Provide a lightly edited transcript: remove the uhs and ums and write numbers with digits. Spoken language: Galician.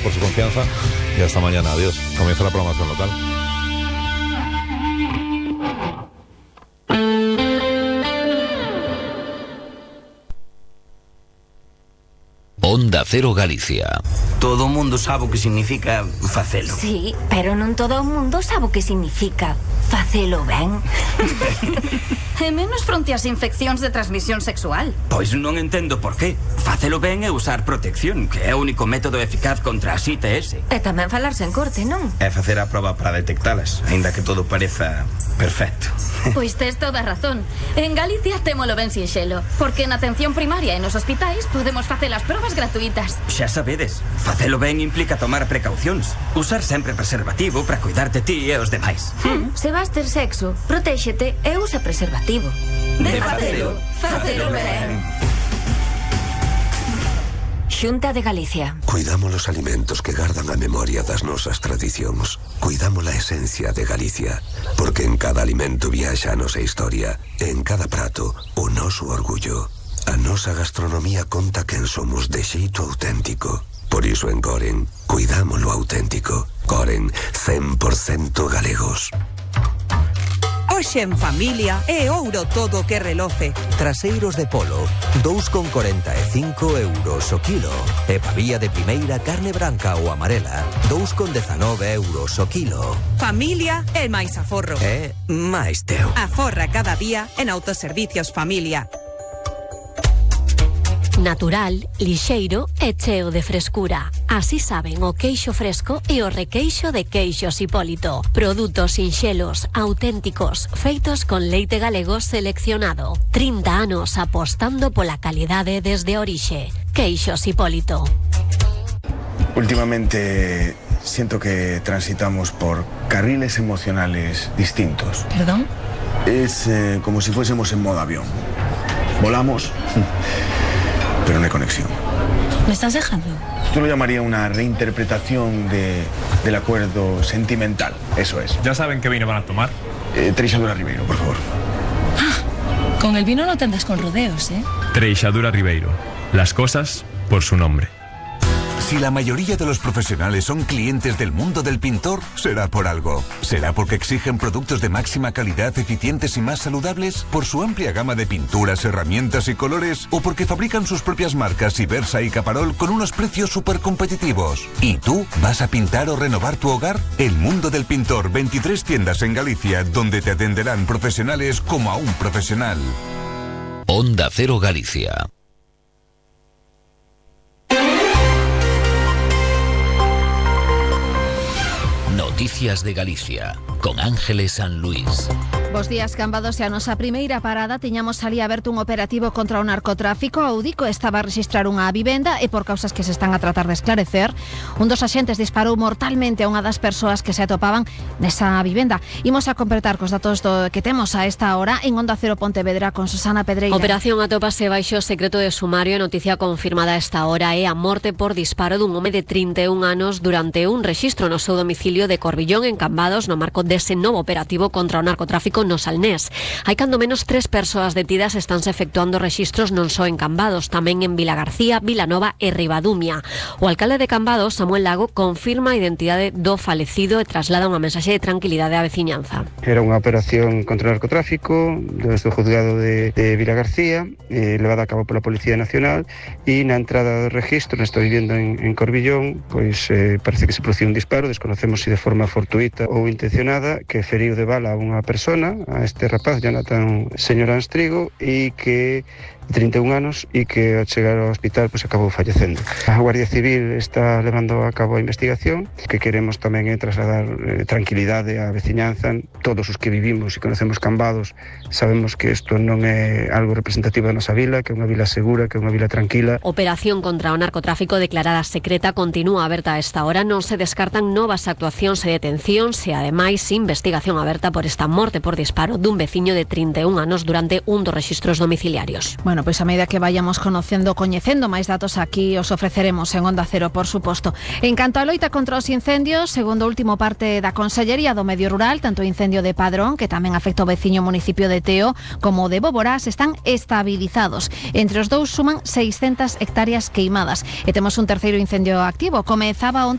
por su confianza y hasta mañana. Adiós. Comienza la programación local. Onda Cero Galicia. Todo o mundo sabe o que significa facelo. Sí, pero non todo o mundo sabe o que significa facelo ben. E menos fronte ás infeccións de transmisión sexual. Pois non entendo por qué. Facelo ben é usar protección, que é o único método eficaz contra as ITS. E tamén falarse en corte, non? É facer a proba para detectalas, aínda que todo pareza perfecto. Pois tes toda a razón. En Galicia témolo ben sinxelo, porque na atención primaria e nos hospitais podemos facer as probas gratuitas. Xa sabedes, facelo ben implica tomar precaucións. Usar sempre preservativo para cuidar de ti e os demais. Se vas ter sexo, protéxete e usa preservativo. De facelo, facelo ben. Xunta de Galicia. Cuidamos los alimentos que gardan a memoria das nosas tradicións. Cuidamos la esencia de Galicia, porque en cada alimento viaxa a nosa historia, e en cada prato o noso orgullo. A nosa gastronomía conta quen somos de xeito auténtico. Por iso en Coren, cuidamos lo auténtico. Coren, 100% galegos. Hoxe en familia é ouro todo que reloce. Traseiros de polo, 2,45 euros o kilo. E pavía de primeira carne branca ou amarela, 2,19 euros o kilo. Familia é máis aforro. É máis teu. Aforra cada día en Autoservicios Familia. Natural, lixeiro e cheo de frescura. Así saben o queixo fresco e o requeixo de Queixos Hipólito. Produtos sinxelos, auténticos, feitos con leite galego seleccionado. 30 anos apostando pola calidade desde a orixe. Queixos Hipólito. Últimamente siento que transitamos por carriles emocionales distintos. ¿Perdón? Es como si fuésemos en modo avión. Volamos, pero no hay conexión. ¿Me estás dejando? Yo lo llamaría una reinterpretación del acuerdo sentimental. Eso es. ¿Ya saben qué vino van a tomar? Treixadura Ribeiro, por favor. Con el vino no te andas con rodeos, ¿eh? Treixadura Ribeiro. Las cosas por su nombre. Si la mayoría de los profesionales son clientes del mundo del pintor, será por algo. ¿Será porque exigen productos de máxima calidad, eficientes y más saludables? ¿Por su amplia gama de pinturas, herramientas y colores? ¿O porque fabrican sus propias marcas Ibersa y Caparol con unos precios súper competitivos? ¿Y tú vas a pintar o renovar tu hogar? El mundo del pintor, 23 tiendas en Galicia, donde te atenderán profesionales como a un profesional. Onda Cero Galicia. Noticias de Galicia, con Ángeles San Luis. Bos días, Cambados, e a nosa primeira parada tiñamos ali aberto un operativo contra o narcotráfico. A UDICO estaba a registrar unha vivenda e por causas que se están a tratar de esclarecer, un dos axentes disparou mortalmente a unha das persoas que se atopaban nesa vivenda. Imos a completar cos datos que temos a esta hora en Onda Cero Pontevedra con Susana Pedreira. Operación atópase baixo secreto de sumario. A noticia confirmada a esta hora é a morte por disparo dun home de 31 anos durante un rexistro no seu domicilio de Corbillón, en Cambados, no marco dese novo operativo contra o narcotráfico no Salnés. Hai cando menos 3 persoas detidas, estánse efectuando rexistros non só en Cambados, tamén en Vilagarcía, Vilanova e Ribadumia. O alcalde de Cambados, Samuel Lago, confirma a identidade do falecido e traslada unha mensaxe de tranquilidade á veciñanza. Era unha operación contra o narcotráfico desde o juzgado de Vilagarcía, levada a cabo pola Policía Nacional, e na entrada do registro nesta vivenda en Corbillón, pois parece que se produciu un disparo, desconocemos se de forma fortuita ou intencionada, que feriu de bala a unha persona, a este rapaz, Jonathan Señor Anstrigo, e que 31 anos e que ao chegar ao hospital pois acabou fallecendo. A Guardia Civil está levando a cabo a investigación, que queremos tamén trasladar tranquilidade á veciñanza. Todos os que vivimos e conocemos Cambados sabemos que isto non é algo representativo da nosa vila, que é unha vila segura, que é unha vila tranquila. Operación contra o narcotráfico declarada secreta continúa aberta a esta hora. Non se descartan novas actuacións e detencións e ademais investigación aberta por esta morte por disparo dun veciño de 31 anos durante un dos rexistros domiciliarios. Bueno, Bueno, pois a medida que vayamos coñecendo máis datos aquí os ofreceremos en Onda Cero, por suposto. En canto á loita contra os incendios, segundo o último parte da Consellería do Medio Rural, tanto o incendio de Padrón, que tamén afecta o veciño municipio de Teo, como o de Boborás, están estabilizados. Entre os dous suman 600 hectáreas queimadas. E temos un terceiro incendio activo. Comezaba